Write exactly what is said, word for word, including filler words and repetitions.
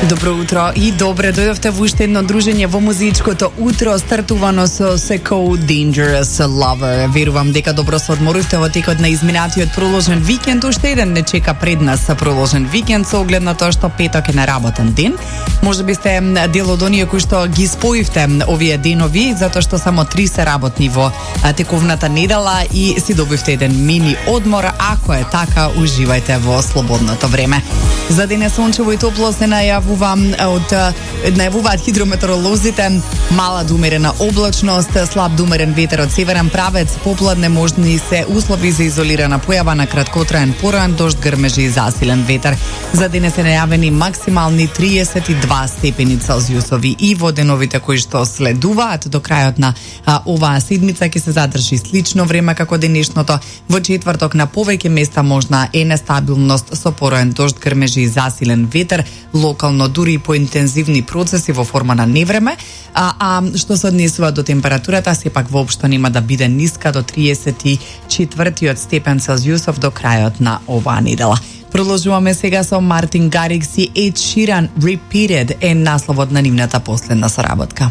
Добро утро и добре дојдовте во уште едно дружење во музичкото утро, стартувано со Seco Dangerous Lover. Верувам дека добро се одморувте во текот на изминатиот проложен викенд. Уште еден не чека пред нас проложен викенд со оглед на тоа што петок е неработен ден. Може би сте дел од оние кои што ги споивте овие денови, затоа што само три се работни во тековната недела и си добивте еден мини одмор. Ако е така, уживајте во слободното време. За денес сончево и топло се најавува од најавуваат хидрометеоролозите мала до умерена облачност, слаб до умерен ветер од северен правец, попладне можни се услови за изолирана појава на краткотраен пораен дожд, грмежи и засилен ветер. За денес се најавени максимални триесет и два степени Целзиусови и во деновите кои што следуваат до крајот на а, оваа седмица ќе се задржи слично време како денешното. Во четврток на повеќе места можна е нестабилност со пораен дожд, грмежи и засилен ветер, локално дури и поинтензивни процеси во форма на невреме, а, а што се однесува до температурата, сепак воопшто нема да биде ниска до триесет и четвртиот степен Целзиусов до крајот на оваа недела. Продолжуваме сега со Мартин Гарикс и Ed Sheeran. Repeated е насловот на нивната последна соработка.